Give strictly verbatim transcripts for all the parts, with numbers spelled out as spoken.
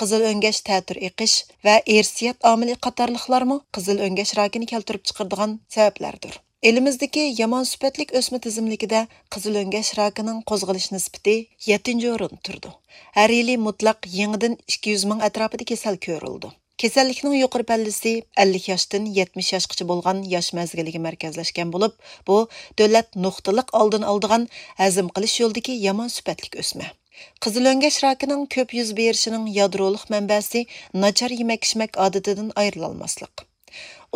قىزىل ئۆڭگەش تەتۈر ئېقىش ۋە ئىرسىيەت ئامىلى قاتارلىقلارمۇ قىزىل ئۆڭگەش راكىنى كەلتۈرۈپ چىقىرىدىغان سەۋەبلەردۇر. ئېلىمىزدىكى يامان سۈپەتلىك ئۆسمە تىزىملىكىدە قىزىل ئۆڭگەش راكىنىڭ قوزغىلىش نىسبىتى يەتتىنچى ئورۇندا تۇرىدۇ. ھەر يىلى مۇتلەق يېڭىدىن ئىككى يۈز مىڭ ئەتراپىدا كېسەل كۆرۈلىدۇ. كېسەللىكنىڭ يۇقىرى پەللىسى ئەللىك ياشتىن يەتمىش ياشقىچە بولغان ياش مەزگىلىگە مەركەزلەشكەن بولۇپ، بۇ دۆلەت نۇقتىلىق ئالدىنى ئالىدىغان ھەزىم قىلىش يولىدىكى يامان سۈپەتلىك ئۆسمە. قىزىل ئۆڭگەش راكىنىڭ كۆپ يۈز بېرىشىنىڭ يادرولۇق مەنبەسى ناچار يېمەك-ئىچمەك ئادىتىدىن ئايرىلالماسلىق.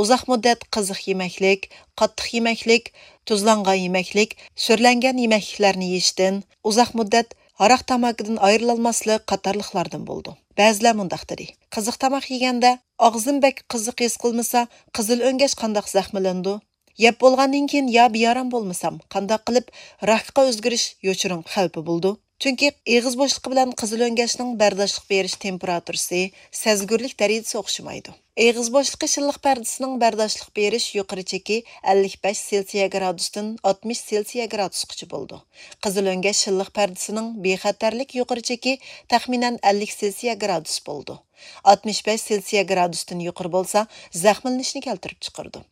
ئۇزاق مۇددەت قىزىق يېمەكلىك، قاتتىق يېمەكلىك، تۇزلانغان يېمەكلىك، سۈرلەنگەن يېمەكلىكلەرنى يېيىشتىن، ئۇزاق مۇددەت ھاراق تاماكىدىن ئايرىلالماسلىق قاتارلىقلاردىن بولىدۇ. بەزىلەر مۇنداق دېدى، قىزىق تاماق يېگەندە ئاغزىم بەك قىزىق ھېس قىلمىسا، قىزىل ئۆڭگەش قانداق زەخىملىنىدۇ؟ يەپ بولغاندىن كېيىن يا بىئارام بولمىسام، قانداق قىلىپ راكقا ئۆزگىرىش يوشۇرۇن خەۋپى بولىدۇ؟ چۈنكى ئېغىز بوشلۇقى بىلەن قىزىل ئۆڭگەشنىڭ بەرداشلىق بېرىش تېمپېراتۇرىسى، سەزگۈرلۈك دەرىجىسى ئوخشىمايدۇ. ئېغىز بوشلۇقى شىللىق پەردىسىنىڭ بەرداشلىق بېرىش يۇقىرى چېكى ئەللىك بەش سېلسىيە گرادۇستىن ئاتمىش سېلسىيە گرادۇسقىچە بولىدۇ. قىزىل ئۆڭگەش شىللىق پەردىسىنىڭ بىخەتەرلىك يۇقىرى چېكى تەخمىنەن ئەللىك سېلسىيە گرادۇس بولىدۇ. ئاتمىش بەش سېلسىيە گرادۇستىن يۇقىرى بولسا، زەخىملىنىشنى كەلتۈرۈپ چىقىرىدۇ.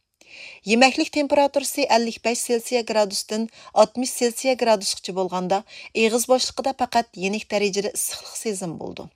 يېمەكلىك تېمپېراتۇرىسى ئەللىك بەش سېلسىيە گرادۇستىن ئاتمىش سېلسىيە گرادۇسقىچە بولغاندا، ئېغىز بوشلۇقىدا پەقەت يېنىك دەرىجىدە ئىسسىقلىق سېزىمى بولىدۇ.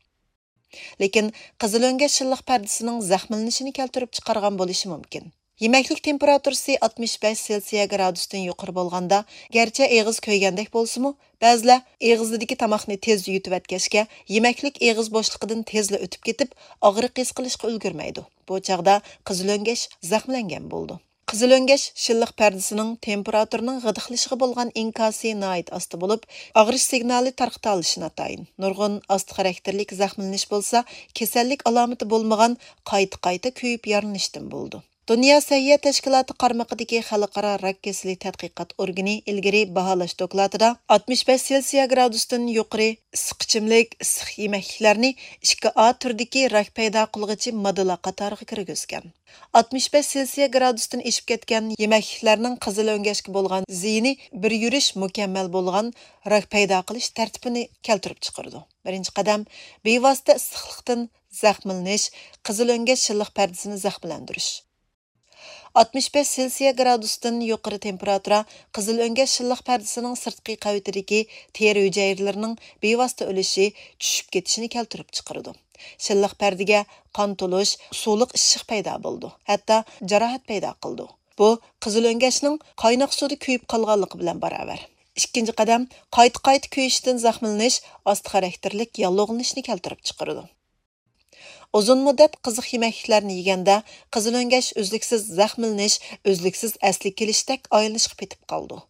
لېكىن قىزىل ئۆڭگەش شىللىق پەردىسىنىڭ زەخىملىنىشىنى كەلتۈرۈپ چىقارغان بولۇشى مۇمكىن. يېمەكلىك تېمپېراتۇرىسى ئاتمىش بەش سېلسىيە گرادۇستىن يۇقىرى بولغاندا، گەرچە ئېغىز كۆيگەندەك بولسىمۇ، بەزىلەر ئېغىزىدىكى تاماقنى تېزلا يۇتۇۋەتكەچكە، يېمەكلىك ئېغىز بوشلۇقىدىن تېزلا ئۆتۈپ كېتىپ، ئاغرىق ھېس قىلىشقا ئۈلگۈرمەيدۇ. بۇ چاغدا قىزىل ئۆڭگەش زەخىملەنگەن بولىدۇ. قىزىل ئۆڭگەش شىللىق پەردىسىنىڭ تېمپېراتۇرىنىڭ غىدىقلىشىشىغا بولغان ئىنكاسى ناھايىتى ئاستا بولۇپ، ئاغرىش سىگنالى تارقىتالىشى ناتايىن. نۇرغۇن ئاستا خاراكتېرلىك زەخىملىنىش بولسا، كېسەللىك ئالامىتى بولمىغان، قايتا-قايتا كۆيۈپ يارىلىنىشتىن بولىدۇ. دۇنيا سەھىيە تەشكىلاتى قارمىقىدىكى خەلقئارا راك كېسىلى تەتقىقات ئورگىنى ئىلگىرى باھالاش دوكلاتىدا ئاتمىش بەش سېلسىيە گرادۇستىن يۇقىرى ئىسسىق ئىچىملىك، ئىسسىق يېمەكلىكلەرنى ئىككى ئا تۈردىكى راك پەيدا قىلغۇچى ماددىلار قاتارىغا كىرگۈزگەن. ئاتمىش بەش سېلسىيە گرادۇستىن ئېشىپ كەتكەن يېمەكلىكلەرنىڭ قىزىل ئۆڭگەشكە بولغان زىيىنى بىر يۈرۈش مۇكەممەل بولغان راك پەيدا قىلىش تەرتىپىنى كەلتۈرۈپ چىقىرىدۇ. بىرىنچى قەدەم، بىۋاسىتە ئىسسىقلىقتىن زەخىملىنىش، قىزىل ئۆڭگەش شىللىق پەردىسىنى زەخىملەندۈرۈش. ئاتمىش بەش سېلسىيە گرادۇستىن يۇقىرى تېمپېراتۇرا قىزىل ئۆڭگەش شىللىق پەردىسىنىڭ سىرتقى قەۋىتىدىكى تېرە ھۈجەيرىلىرىنىڭ بىۋاسىتە ئۆلۈشى، چۈشۈپ كېتىشىنى كەلتۈرۈپ چىقىرىدۇ. شىللىق پەردىگە قان تولۇش، سۇلۇق ئىششىق پەيدا بولىدۇ، ھەتتا جاراھەت پەيدا قىلىدۇ. بۇ قىزىل ئۆڭگەشنىڭ قايناق سۇدا كۆيۈپ قالغانلىقى بىلەن باراۋەر. ئىككىنچى قەدەم، قايتا-قايتا كۆيۈشتىن زەخىملىنىش، ئاستا خاراكتېرلىك ياللۇغلىنىشنى كەلتۈرۈپ چىقىرىدۇ. ئۇزۇن مۇددەت قىزىق يېمەكلىكلەرنى يېگەندە، قىزىل ئۆڭگەش ئۈزلۈكسىز زەخىملىنىش، ئۈزلۈكسىز ئەسلىگە كېلىشتەك ئايلىنىشقا پېتىپ قالىدۇ.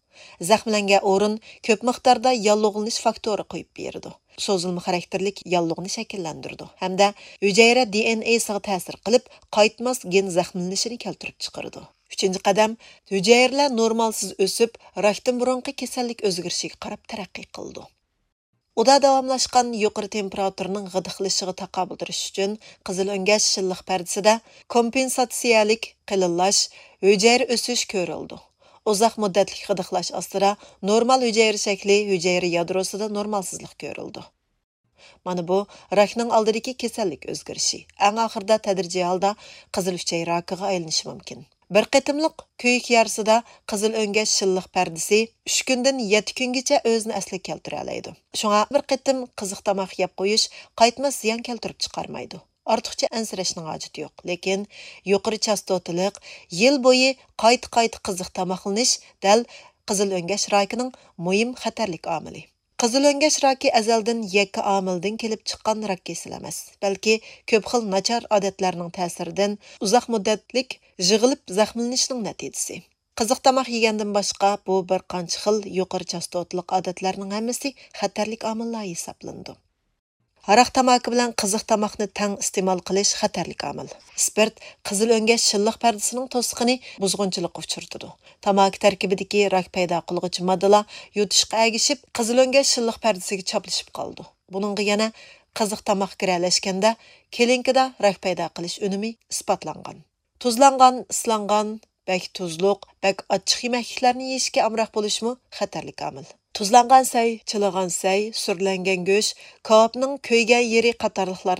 زەخىملەنگەن ئورۇن كۆپ مىقداردا ياللۇغلىنىش فاكتورى قويۇپ بېرىدۇ. سوزۇلما خاراكتېرلىك ياللۇغنى شەكىللەندۈرىدۇ ھەمدە ھۈجەيرە دى ئېن ئېسىغا تەسىر قىلىپ، قايتماس گېن زەخىملىنىشىنى كەلتۈرۈپ چىقىرىدۇ. ئۈچىنچى قەدەم، ھۈجەيرىلەر نورمالسىز ئۆسۈپ، راكتىن بۇرۇنقى كېسەللىك ئۆزگىرىشىگە قاراپ تەرەققىي قىلىدۇ. ئۇدا داۋاملاشقان يۇقىرى تېمپېراتۇرىنىڭ غىدىقلىشىشىغا تاقابىل تۇرۇش ئۈچۈن، قىزىل ئۆڭگەش شىللىق پەردىسىدە كومپېنساتسىيەلىك قېلىنلاش، ھۈجەيرە ئۆسۈش كۆرۈلىدۇ. ئۇزاق مۇددەتلىك غىدىقلاش ئاستىدا نورمال ھۈجەيرە شەكلى، ھۈجەيرە يادروسىدا نورمالسىزلىق كۆرۈلىدۇ. مانا بۇ راكنىڭ ئالدىدىكى كېسەللىك ئۆزگىرىشى، ئەڭ ئاخىرىدا تەدرىجىي ھالدا قىزىل ئۈچەي راكىغا ئايلىنىشى مۇمكىن. بىر قېتىملىق كۆيۈك يارىسىدا قىزىل ئۆڭگەش شىللىق پەردىسى ئۈچ كۈندىن يەتتە كۈنگىچە ئۆزىنى ئەسلىگە كەلتۈرەلەيدۇ. شۇڭا بىر قېتىم قىزىق تاماق يەپ قويۇش قايتماس زىيان كەلتۈرۈپ چىقارمايدۇ. ئارتۇقچە ئەنسىرەشنىڭ ھاجىتى يوق. لېكىن يۇقىرى چاستوتىلىق، يىل بويى قايتا-قايتا قىزىق تاماقلىنىش دەل قىزىل ئۆڭگەش راكىنىڭ مۇھىم خەتەرلىك ئامىلى. قىزىل ئۆڭگەش راكى ئەزەلدىن يەككە ئامىلدىن كېلىپ چىققان راك كېسىلى ئەمەس، بەلكى كۆپ خىل ناچار ئادەتلەرنىڭ تەسىرىدىن ئۇزاق مۇددەتلىك يىغىلىپ زەخىملىنىشنىڭ نەتىجىسى. قىزىق تاماق يېگەندىن باشقا، بۇ بىر قانچە خىل يۇقىرى چاستوتىلىق ئادەتلەرنىڭ ھەممىسى خەتەرلىك ئامىللار ھېسابلىنىدۇ. ھاراق تاماكا بىلەن قىزىق تاماقنى تەڭ ئىستېمال قىلىش خەتەرلىك ئامىل. ئىسپىرت قىزىل ئۆڭگەش شىللىق پەردىسىنىڭ توسۇقىنى بۇزغۇنچىلىققا ئۇچرىتىدۇ. تاماكا تەركىبىدىكى راك پەيدا قىلغۇچى ماددىلار يۇتۇشقا ئەگىشىپ، قىزىل ئۆڭگەش شىللىق پەردىسىگە چاپلىشىپ قالىدۇ. بۇنىڭغا يەنە قىزىق تاماق كىرەلەشكەندە، كلىنىكىدا راك پەيدا قىلىش ئۈنۈمى ئىسپاتلانغان. تۇزلانغان، ئىسلانغان، بەك تۇزلۇق، بەك ئاچچىق يېمەكلىكلەرنى يېيىشكە ئامراق بولۇشمۇ خەتەرلىك ئامىل. تۇزلانغان سەي، چىلىغان سەي، سۈرلەنگەن گۆش، كاۋاپنىڭ كۆيگەن يېرى قاتارلىقلار